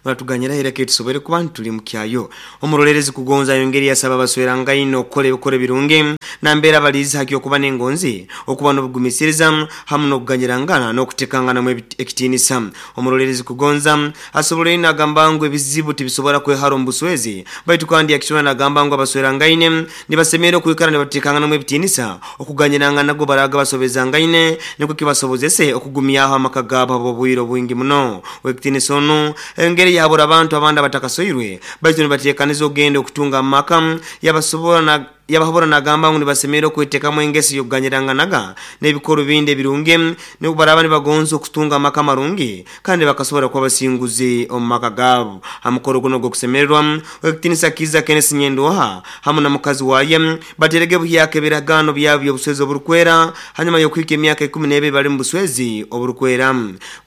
Muratuganyira ireke tusobore kuba tuli mukyayo. Omurolerezi Kugonza yongeri yasaba abaswerangaine okukora ebikoro birungi nambera balizi haki okuba n'engonzi, okuba n'obugumisiriza hamu n'okuganyirangana n'okutekanganamu ekitinisa. Omurolerezi Kugonza asoboleire nagamba ngu ebizibu tibisobora kwehara omu buswezi, baitu kandi yakisura nagamba ngu abaswerangaine nibasemerera okwikara nibatekanganamu ebitinisa, okuganyirangana go baraga basobezangaine nikwo kibasobozese okugumyaho amaka gaabo habw'obwire obwingi muno. Wekitinisa onu engeri yahabura abantu abandi abatakasoirwe baitu nibatekaniza okugenda okutunga amaka yabasobora yabahabura nagamba ngu nibasemerera okwetekamu engeso y'okuganyiranganaga n'ebikorwa bindi ebirungi nibwo baraba nibagonza okutunga amaka marungi kandi bakasobora kuba basinguzi omu maka gaabo. Ha mukoro guno ogw'okusemererwa, Owekitinisa Kiiza Kenneth Nyendoha hamu na mukazi waye baterege buhyaka ebiragaano byabo by'obuswezi oburukwera hanyuma y'okuhika emyaka 12 bali mu buswezi oburukwera.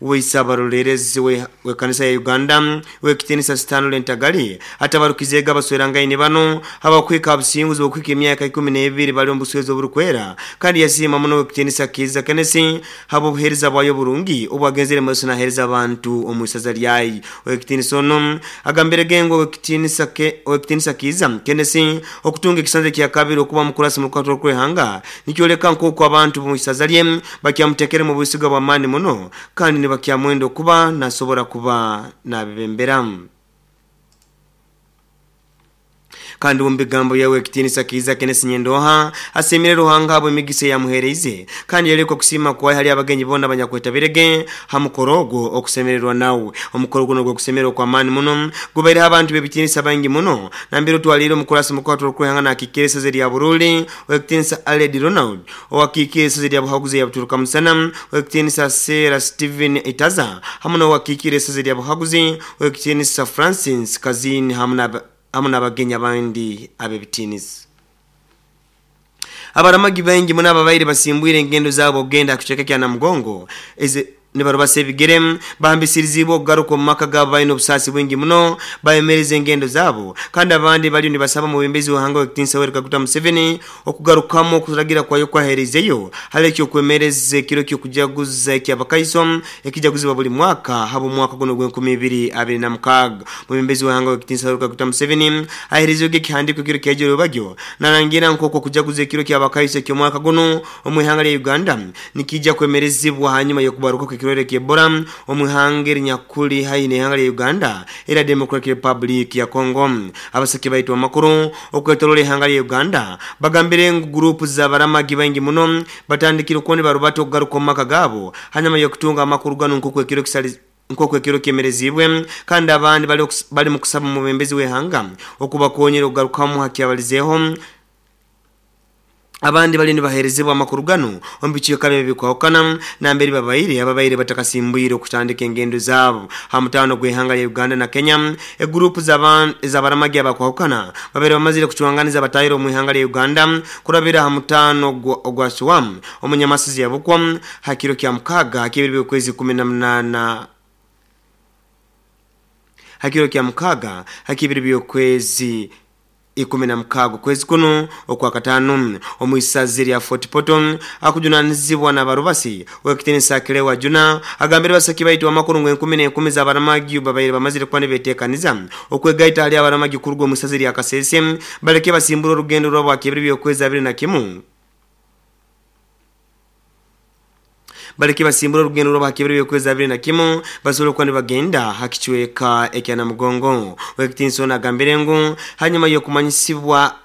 Weisa abarolerezi w'ekanisa ya Uganda Owekitinisa Stanley Ntagali atabarukizeege abaswerangaine banu habw'okuhika ha businguzi bw'okuhika emyaka 12 bali omu buswezi oburukwera kandi yasiima muno Owekitinisa Kiiza Kenneth habw'obuheereza bwayo oburungi obwagenzere maiso naheereza abantu omu isaza lyayo. Owekitinisa onu agambirege ngu Owekitinisa Kiiza Kenneth okutunga ekisanja kyakabiri okuba mukurasi mu rukato rw'eihanga nikyoleka nk'oku abantu b'omu isaza lye bakyamutekeremu obwesiga bw'amaani muno kandi nibakyamwenda okuba nasobora kuba nabebembera. Kandi omu bigambo bya Owekitinisa Kiiza Kenneth Nyendoha asiimire Ruhanga habw'emigisa eyamuheereize kandi yaleka okusiima kwaye hali abagenyi boona abanyakwetabirege ha mukoro ogwo okusemererwa nawe. Omukoro guno ogw'okusemererwa okw'amaani muno gubaireho abantu b'ebitinisa baingi muno nambere otwaliire omukurasi mukuru okwehanga nakiikira isaza erya Buruli Owekitinisa Aled Ronald, owakiikire isaza erya Buhaguzi eya Buturuka Musana Owekitinisa Sarah Steven Itaza hamu n'owakiikire isaza erya Buhaguzi Owekitinisa Francis Kazini hamu na hamu n'abagenyi abandi ab'ebitiinisa. Abaramagi baingi muno ababaire basimbwire engendo zaabo okugenda ha kicweka kya Namugongo ezi nibarubasa ebigere bahambisirizibwe okugaruka omu maka gaabo baine obusaasi bwingi muno bayemereza engendo zaabo kandi abandi baliyo nibasaba omwebembezi w'ihanga ow'ekitiinisa Yoweri Kaguta Museveni okugarukamu okuragira kwayo okwahereizeyo hali eky'okwemereza ekiro ky'okujaguza eky'Abakaiso ekijaguzibwa buli mwaka habw'omwaka gunu ogw'enkumi ibiri abiri na mukaaga. Omwebembezi w'ihanga ow'ekitiinisa Yoweri Kaguta Museveni ahereizeyo ekihandiiko ekiro kyaija orwebagyo narangira nk'oku okujaguza ekiro ky'Abakaiso eky'omwaka gunu omu ihanga lya Uganda nikiija kwemerezibwa hanyuma y'okubaruka kw'ekirwaire ky'Ebola omu ihanga erinyakuli haihi n'ihanga lya Uganda erya Democratic Republic ya Congo. Abasaki baitu amakuru okwetorola ihanga lya Uganda bagambire ngu guruupu z'abaramagi baingi muno batandikire okuba nibarubata okugaruka omu maka gaabo hanyuma y'okutunga amakuru ganu nk'oku ekiro nk'oku ekiro kyemereziibwe kandi abandi bali mu kusaba omwebembezi w'ihanga okubakonyera okugarukamu ha kyabalizeeho. Abandi baliyo nibaheerezebwa amakuru ganu omu bicweka byabo ebirukwahukana nambere babaire ababaire batakasimbuire okutandika engendo zaabo ha mutaano gw'ihanga lya Uganda na Kenya. Eguruupu ez'abaramagi abakwahukana babaire bamazire kucwanganiza batahire omu ihanga lya Uganda kurabira ha mutaano ogwa Suam omu Nyamasizi ya Bukwo ha kiro kya mukaaga hak'ebiro by'okwezi 18 ha kiro kya mukaaga hak'ebiro by'okwezi 16 okwezi kunu Okwakataano. Omu isaza erya Fort Portal, akujunanizibwa n'abarubasi, Owekitinisa Cleo Juna agambire basaki baitu amakuru ngu enkumi n'enkumi z'abaramagi babaire bamazire kuba nibetekaniza okwegaita hali abaramagi kuruga omu isaza erya Kasese baleke basimbure orugendo rwabo hak'ebiro by'okwezi 21. Baleke basimbure orugendo rwabo ha kibiro by'okwezi 21 basobole kuba nibagenda ha kicweka ekya Namugongo. Owekitinisa onu agambire ngu hanyuma y'okumanyisibwa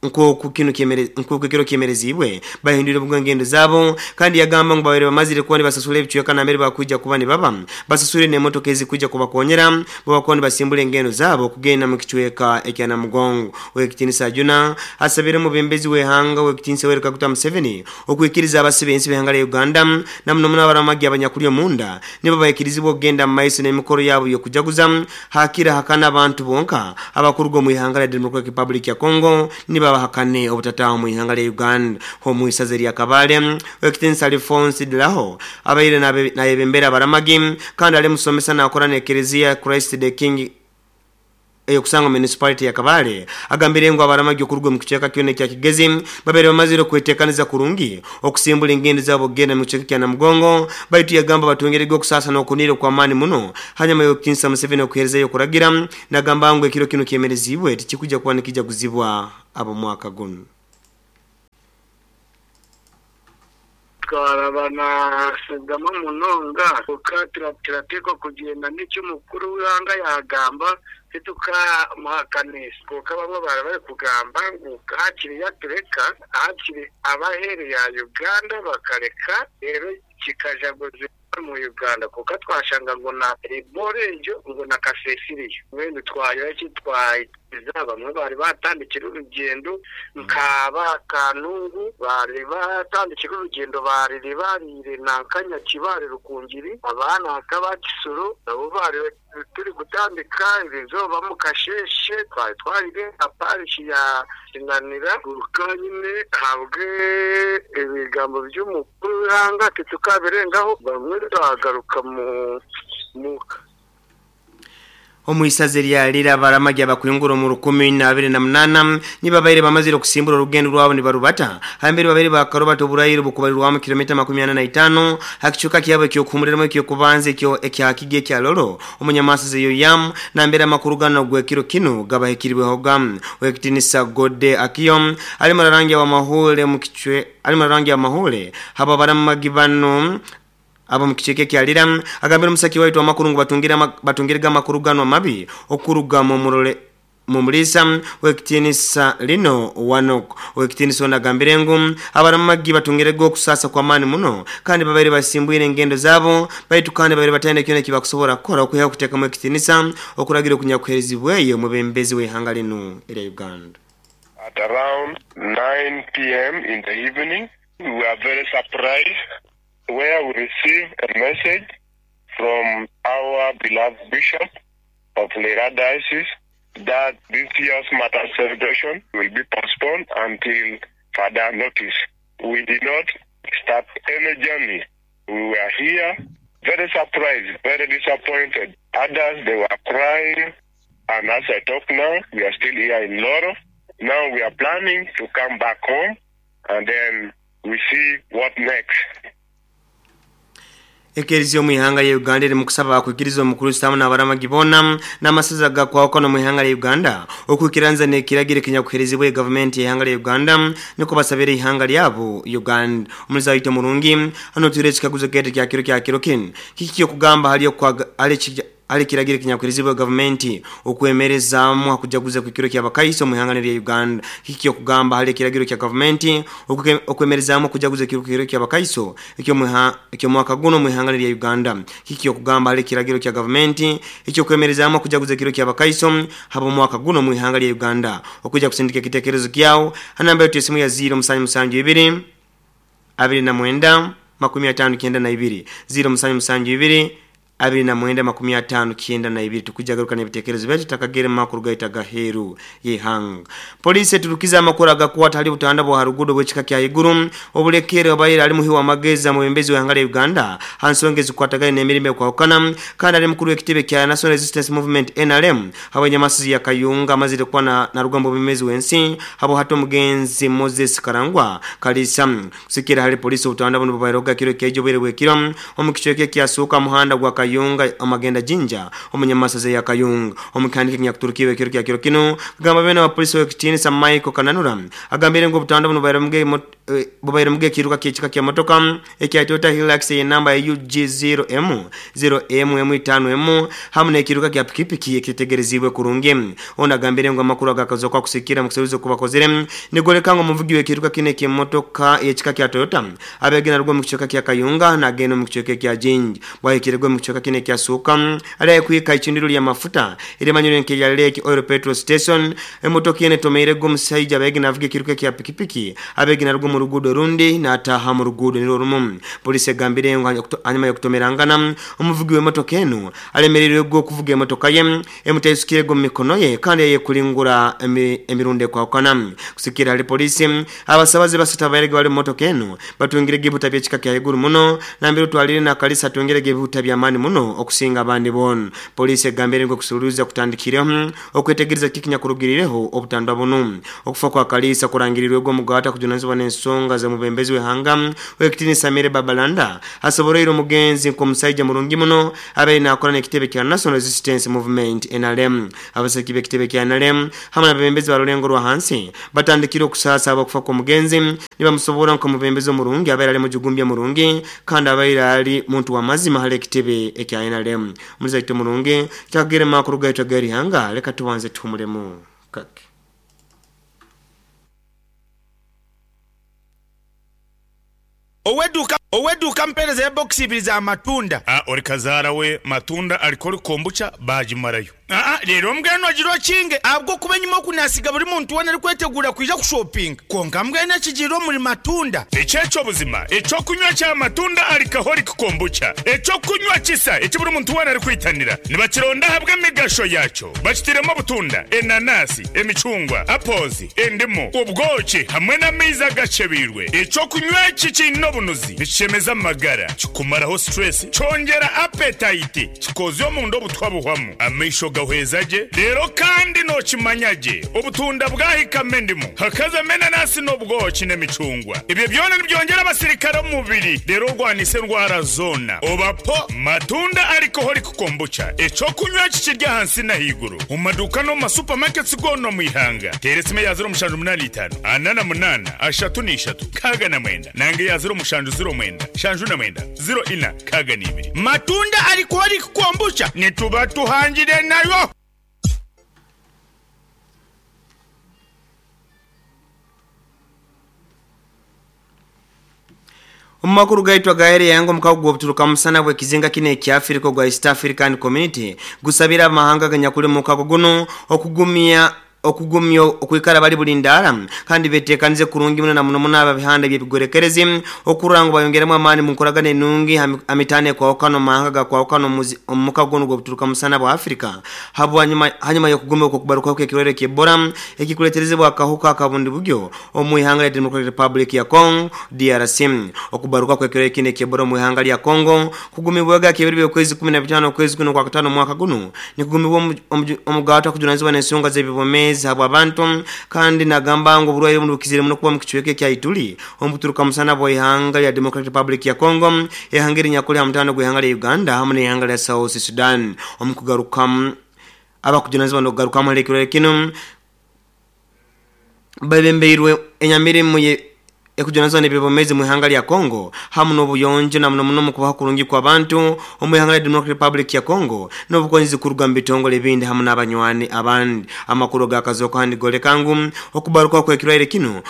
nk'oku kinu nk'oku ekiro kyemereziibwe bahindwire bwangu engendo zaabo kandi yagamba ngu babaire bamazire kuba nibasasura ebicweka nambere bakwija kuba nibaba basaswire n'emotoka ezikwija kubakonyera bwebakuba nibasimbura engendo zaabo kugenda mu kicweka ekya Namugongo. Owekitinisa Ajuna asabire omubembezi w'eihanga Owekitinisa Yoweri Kaguta Museveni Okwikiriza abasi b'ensi b'ihanga lya Uganda na muno muno abaramagi abanyakuli omunda nibo baikirizibwa okugenda mu maiso n'emikoro yaabo y'okujaguza hakira hakana abantu bonka abakuruga omu ihanga lya Democratic Republic ya Congo nibo abahakane obutataaha omu ihanga lya Uganda. Omu isaza erya Kabale, Owekitinisa Alfonse Dilaho abaire nayebembera abaramagi kandi ali musomesa nakora n'ekereziya Christ the King. eyokusanga municipality ya Kabale agambire ngu abaramagi okuruga mu kicweka kyona ekya Kigezi babaire bamazire okwetekaniza kurungi okusimbura engendo zabo kugenda mu kicweka kya Namugongo baitu yagamba batongerege okusasa n'okunira okw'amaani muno hanyuma y'okukinisa Museveni okuheerezayo okuragira nagamba ngu ekiro kinu kyemerezibwe tikikujja kuba nikijaguzibwa ab'omwaka gunu. Twaraba naashagama munonga, kwonka turateekwa kugyenda n'eki omukuru w'eihanga yaagamba, titukamuhakanisa. Kwonka bamwe baaba barikugamba ngu hakiri yatureka, hakiri ab'aheeru ya Uganda bakareka reero kikajaguzibwa omu Uganda. Kwonka twashanga ngu na Ebola egyo ngu na Kasese eriyo. Mbwenu twagira ki? Twaikiriza bamwe baari baatandikire orugyendo nka ba Kanungu baari baatandikire orugyendo baarire baariire nanka Nyakibare Rukungiri, aba nanka aba Kisoro nabo baari turi kutandika erizooba omu kasheeshe twari twarire aha parish ya Kinanira. Kwonka nyine ahabw'ebigambo by'omukuru w'eihanga titukabirengaho bamwe twagaruka muka. Omu isaza erya Lira abaramagi abakwingura omu 2028 nibabaire bamazire okusimbura orugendo rwabo nibarubata hambere babaire bakarubata oburayiro bukubarirwamu kilomita 45 hakicuka kyabo ekyokuhumuliramu ekyokubanza ekyo ekyakigi ekya Lolo omunyamasaza eyo yam nambere amakuru gano gwekiro kinu gabahikirwehoga wekitinisa Gode Akiyo ali murarangi wa mahule mukichwe ali murarangi wa mahule habo abaramagi bano abo mukicheke kyalira agambira omusaki waitu amakuru ngu batungirega amakuru gano amabi okuruga mumurole mumulisa wekitinisa lino wanok wekitinisa onagambire ngu abaramagi batungirega okusasa kwa maani muno kandi babaire basimbwire engendo zabo baitu kandi babaire bataine kyona ekibakusobora kukora okwihaho okuteekamu ekitinisa okuragira okunyakuheerezibweyo omubembezi w'eihanga linu erya Uganda. At around 9 p.m. in the evening, we were very surprised where we received a message from our beloved Bishop of Lira Diocese that this year's Matters celebration will be postponed until further notice. We did not start any journey. We were here, very surprised, very disappointed. Others, they were crying. And as I talk now, we are still here in Loro. Now we are planning to come back home and then we see what next. Ekereziya omu ihanga lya Uganda eri mukusaba akwikiriza omukristo n'abaramagi boona n'amasaza gakwawukana omu ihanga lya Uganda okwikiranza n'ekiragiro ekinyakuheerezibwa gavumenti y'ihanga lya Uganda niko basabira ihanga lyabo Uganda. Omulizi waitu omurungi hano twire ekikaguzo kete kya kiro kinu kiki okugamba hali hali kiragiro ekinyakuheerezibwa gavumenti okwemerezaamu hakujaguza kw'ekiro ky'abakaiso omu ihanga lya Uganda. Kiki okugamba hali ekiragiro kya gavumenti okwemerezaamu okujaguza ekiro ky'abakaiso eky'omwaka guno omu ihanga lya Uganda. Kiki okugamba hali ekiragiro kya gavumenti ekyokwemerezaamu okujaguza ekiro ky'abakaiso haba omwaka guno omu ihanga lya Uganda. Okujja kusindika ekitekerezo kyawo hanamba yetu esimu ya 0772 29 59 0772 29 59 tukujagaruka n'ebitekerezo byaitu takagere mu makuru gaita gaheru y'ihanga. Polisi eturukiza amakuru agakwata hali butanda bwa harugudo bw'ekika kya iguru obulekere obaire ali muhi wa magezi amubembezi w'ihanga lya Uganda hansonga ezikwatagana n'emirimo ekwahukana kandi ali mukuru w'ekitebe kya National Resistance Movement NRM habw'enyamasizi ya Kayunga amazire kuba na rugambo bw'emezi w'ensi habo hati omugenzi Moses Karangwa Kalisa kusikira hali polisi obutanda buno bubairoga kiro kyejo bwire bw'ekiro omu kicweka ekyasuuka muhanda gwa Kayunga amagenda jinja omunyamasaza ya Kayunga omukandike nyakuturukiwe ekiro kya kiro kino kugamba bene wa polisi w'ekitiinisa Michael Kananura agambire ngu obutanda buno bubaire muge ekiruka ky'ekika kya motoka ekya Toyota Hilux y'enamba ya UG0M 0MM5M hamwe n'ekiruka kya pikipiki ekitegerezibwe kurungi. Ono agambire ngu amakuru agakaza kwa kusikira mu kuseruza kubakozere nigoleka ngu omuvugi w'ekiruka kino eky'emotoka y'ekika kya Toyota abegena rugwa mu kicweka kya Kayunga nagenda mu kicweka kya Jinja bwahikirwe mu kicweka kino ekyasuuka ali kwika icindiro lya mafuta erimanyire nke ya Lake Oil Petrol Station emotoka ene tomeire go omusajja abegena avuga ekiruka kya pikipiki abegena rugwa omu ruguudo orundi n'ataaha mu ruguudo nirwo rumu. Poliisi egambire ngu hanyuma y'okutomerangana, omuvugi w'emotoka enu alemereirwe okuvuga emotoka ye emutaisukirege omu mikono ye kandi yayekulingura emirundi ekwahukana. Kusigikirra hali poliisi, abasabazi basatu ababairege bali omu motoka enu batungirege ebihuta by'ekika kya haiguru muno nambere otwaliire na Kalisa atungirege ebihuta by'amaani muno okusinga abandi boona. Poliisi egambire ngu okuseruliiriza kutandikireho okwetegereza kiki ekinyakurugiriireho obutandwa bunu. Okufa kwa Kaliisa kurangirirwege omugaati akujunanizibwa n'ensonga z'omubembezi w'ihanga ow'ekitiinisa Mary Babalanda asoboroire omugenzi nk'omusaija murungi muno abaire nakora n'ekitebe kya National Resistance Movement, nrm. Abasagiki b'ekitebe kya nrm hamu n'abebembezi ba rulengo rwa hansi batandikire okusaasa habw'okufa kw'omugenzi nibamusoborra nk'omubembezi omurungi abaire ali mujugumbya murungi kandi abaire ali muntu w'amazima hali ekitebe ekya nrm. Omulizi waitu omurungi, kyakagere makuru gaitu ag'erihanga, leka tubanze tuhumulemu kake. Ow'eduuka Ow'eduuka ampeereza ebokisi ibiri za matunda. A Ori kazaara we matunda alcoholic kombucha baagimarayo. Aa Reero mbwenu ogira okinge ahabw'okuba enyima oku naasiga buri muntu weena arikweteguura kwija kushopinga. Kwonka mbwenu ekigiire omuri matunda. Eki eky'obuzima, eky'okunywa kya matunda alcoholic kombucha, eky'okunywa kisa eki buri muntu weena arikwitanira. Nibakironda ahabw'emigasho yaakyo. Bakitairemu obutunda, enanasi, emicungwa, apples, endimu, obwoki hamwe n'amaizi agakyebeirwe. Eky'okunywa eki kiine obunuzi, nikishemeza amagara, kikumaraho stress, kyongyera appetite, kikozya omunda obutwa buhwamu, amaisho gahweza gye, reero kandi nookimanya gye obutunda bwahikamu endimu, hakazamu enanasi n'obwoki n'emicungwa. Ebyo byona nibyongyera abasirikare omu mubiri reero orwanise endwara zoona. Oba po matunda alcoholic Kombucha, eky'okunywa eki kiri ahansi n'ahaiguru omu maduuka n'omu ma supermarkets goona omu ihanga. Teera esimu eya 0785 48 33 69 nanga eya 0709 79 04 62. Matunda Alcoholic Kombucha nituba tuhangire nayo. Omu makuru gaitu agahere yanga omukago gw'obuturuka musana bw'ekizinga kinu ekya Afirika ogwa East African Community gusabire abamahanga aganyakuli omu mukago gunu okugumya okugumya okwikara bali bulindaara kandi betekanize kurungi muno na muno muno ababihanda eby'ebigwerekerezi okurora ngu bayongeremu amaani mu nkoragana enungi ha mitaano ekwahukana omu mahanga agakwahukana omu mukago gunu ogw'obuturuka musana bwa Afirika habwanyuma hanyuma y'okugumya okw'okubarukaho kw'ekirwaire ky'Ebola ekikuleterezebwa akahuka akabundi bugyo Omu ihanga lya Democratic Republic ya Congo, DRC. Okubaruka kw'ekiro ekindi eky'Ebola omu ihanga lya Congo kugumibwege aha kebiro by'okwezi 15 okwezi kuno okwakataano omwaka gunu nikugumibwa omugaati akujunanizibwa n'ensonga z'eby'obwomeezi habw'abantu kandi nagamba ngu oburwaire bunu bukizire muno kuba omu kicweka ekya Ituri omu buturuka musana bwa ihanga lya Democratic Republic ya Congo ihanga erinyakuli ha mutaano gw'ihanga lya Uganda hamu n'ihanga lya South Sudan. Omu kugarukamu abakujunanizibwa n'okugarukamu hali ekirwaire kinu Bebembeirwe enyamirimo ekujunanizibwa n'eby'obwomeezi omu ihanga lya Congo hamu n'obuyonjo na muno muno omu kubaho kurungi kw'abantu omu ihanga lya Democratic Republic ya Congo n'obukonyezi kuruga omu bitongole ebindi hamu n'abanywani abandi. Amakuru agakazooka nigoleka ngu okubarukaho kw'ekirwaire kinu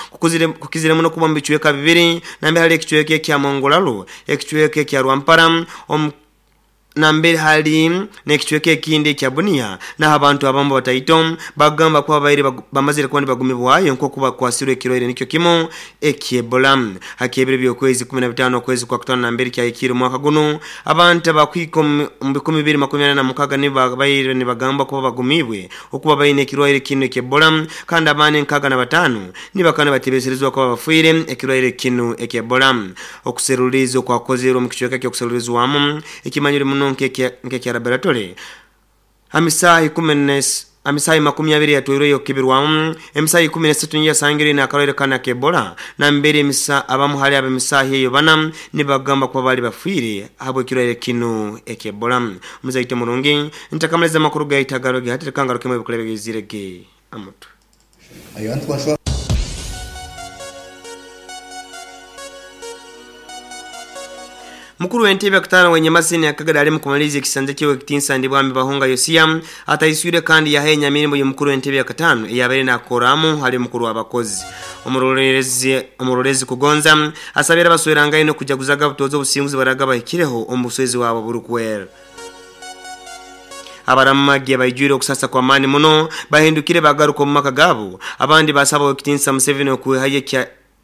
kukizire muno kuba omu bicweka bibiri nambere hali ekicweka ekya Mongolalu, ekicweka ekya Rwampara omu Nambere hali n'ekicweka ekindi ekya Bunia, naho abantu abamu bataito bagamba kuba babaire bamazire kuba nibagumibwayo nk'oku bakwasirwe ekirwaire nikyo kimu eky'Ebola. Ha ky'ebiro by'okwezi 15 okwezi kwa kutaano nambere kyahikiire omwaka gunu, abantu abakuhika omu 246 nibo babaire nibagambwa kuba bagumiibwe okuba baine ekirwaire kinu eky'Ebola kandi abandi 65 nibakaba nibatebeserezibwa kuba bafiire ekirwaire kinu eky'Ebola. Okuseruliiriza okwakozerwe omu kicweka ky'okuserulirizwamu ekimanyirwe muno nk'ekya laboratory ha misaaha makumi abiri eyatwairweyo okukebirwamu, emisaaha ikumi n'esatu niyo yasangirwe eine akarwaire kanu aka Ebola nambere abamu hali ab'emisaaha eyo bana nibagamba kuba baali bafiire habw'ekirwaire kinu ekya Ebola. Omuzaite omurungi, ntakamaliza amakuru gaitu agaroge hati leka ngarukemu ebikula ebigaizire ge amutwe. Mukuru w'entebe yakutaano w'Enyamasini Akagari ali mukumaliriza ekisanja kye Owekitinsa Ndibwami Bahunga Yosia ataiswire kandi yaha enyamirimo y'omukuru w'entebe yakataano eyabaire nakoramu hali mukuru w'abakozi Omurorezi Kugonza asabire abaswerangaine okujaguzaga butooza obusinguzi baraga bahikireho omu buswezi bwabo oburukwera. Abaramagi abaijwire okusasa kw'amaani muno bahindukire bagaruka omu maka gaabo, abandi baasaba Owekitinisa Museveni okwihayo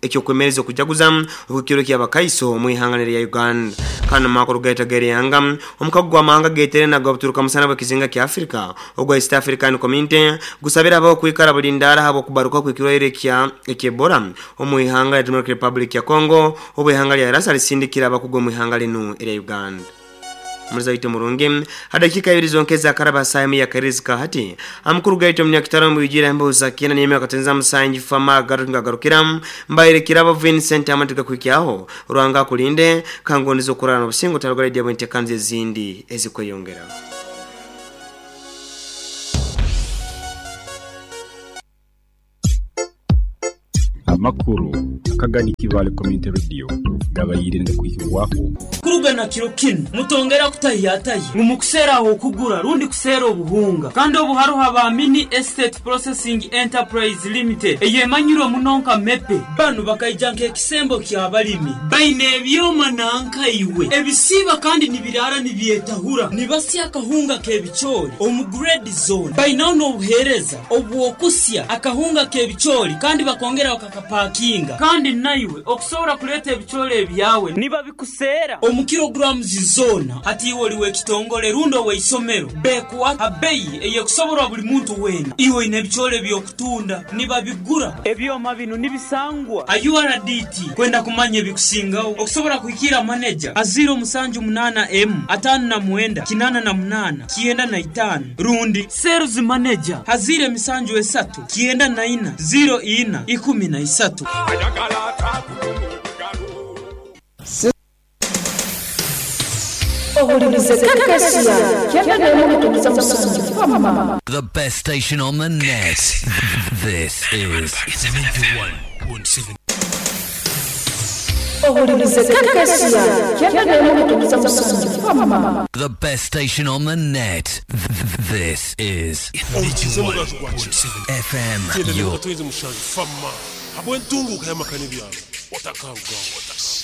ekyokwemereza okujaguza okw'ekiro ky'abakaiso omu ihanga lya Uganda. Kandi omu makuru gaitu ag'erihanga, omukago gw'amahanga geteire nago obuturuka musana bw'ekizinga kya Africa ogwa East African Community gusabire abaho kwikara bulindaara ahabw'okubaruka kw'ekirwaire kya Ebola omu ihanga lya Democratic Republic ya Congo obu ihanga lya Rasa lisindikire abakugu omu ihanga linu erya Uganda. Omuliza waitu omurungi, ha dakiika ibiri zonka ezakaraba ha saaha emu y'akairirizi ka hati, amakuru gaitu omunyakitara omu bwijwire aha mbeho za kyenda n'emyaka katenza musanju fama agaruka ngagarukira mbaire Kirabo Vincent amatu gakuhikyaho. Ruhanga akulinde, kangondeze okurara n'obusinge otarugura radio bw'enteekaniza ezindi ezikweyongera. Amakuru akagani Kibaale Community Radio gabaire nigakwihibwaho. Kuruga na kiro kinu, mutongera kutahiyatahya ngu mukuseera ah'okugura rundi kuseera obuhunga. Kandi obu haroho aba Mini Estate Processing Enterprise Limited eyemanyirwe muno nka MEPE. Banu bakaija nk'ekisembo ky'abalimi. Baine ebyoma nanka iwe ebisiiba kandi nibiraara nibyetahura. Nibasya akahunga k'ebicoori omu grade zoona. Bainaho n'obuheereza obw'okusya akahunga k'ebicoori kandi bakongera bakakapakinga. Kandi naiwe okusobora kuleeta ebicoori ebyawe nibabikuseera omu kilograms zoona. Hati iwe oli w'ekitongole rundi ow'eisomero, bekuha ha beyi ey'ekusoborwa buli muntu weena. Iwe oine ebicoori eby'okutunda, nibabigura. Ebyoma binu nibisangwa ha URDT. Kwenda kumanya ebikusingaho, okusobora kuhikiira maneja ha ziiro musanju munaana emu, ataano na mwenda, kinaana na munaana, 95 rundi Sales Manager ha ziiro emisanju esatu, 94, ziiro ina, 13. Ohulirize KKCR 91 musanju Fama. The best station on the net. This is 71.7. Ohulirize KKCR 91 musanju Fama. The best station on the net. This is 71.7 FM. Kyenda Your n'emwe musanju Fama habw'entunguka y'amaka n'ebyaro otakarugaho.